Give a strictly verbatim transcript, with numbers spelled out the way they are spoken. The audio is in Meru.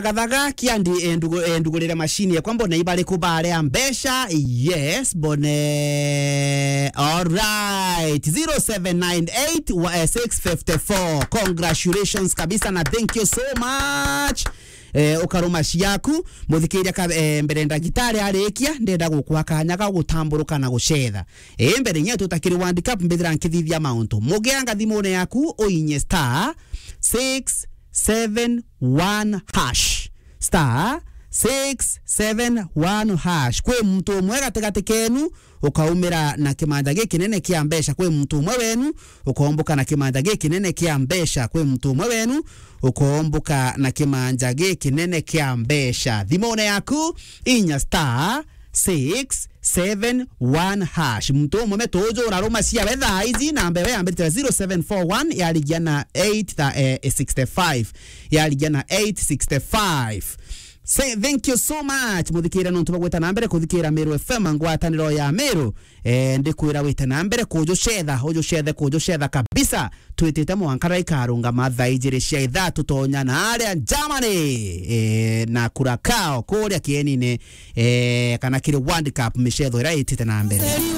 Gathaga kiandi, eh, ndugu-, eh, ndugurire machine yakwa mbone ibariku baria mbeca. Yes, mbone. All right. zero seven nine eight six five four. Congratulations kabisa na thank you so much. Eh, ukaruma ciaku, muthikiria ka, eh, mbere ndagitari arikia, ndenda gukwa kanya ga gutamburuka na gucetha. Eh, mbere nye tutakiri World Cup mbithira nkithithia mauntu. Mugeanga thimune yaku, uinye star six seven one hash. Star six seven one hash. Kwi muntu umwe gatigati kenu ukaumira na kimanja gikinene kia mbeca. Kwi muntu umwe wenu ukoomboka na kimanja gikinene kia mbeca. Kwi muntu umwe wenu ukoomboka na kimanja gikinene kia mbeca. Thimune yaku, inya star six seven one hash. Muntu umwe metuju uraruma ciawe thaa ici, namba iwe yambirite na zero seven four one, yarigia na eight tha-, eh, sixty five. Yarigia na eight sixty five. Say thank you so much, muthikire nontu bagwita na mbere kuthikira Meru F M, ngwataniro ya Meru. Eh, ndikwira wite na mbere kujucetha, ujucethe, kujucetha kabisa. Twitite mwanka raikarungama thaa ijiri cia ithaa, tutonya na aria Germany, eh, na Curacao kuria kienine, eh, kana kiri World Cup micetho iria itite na mbere.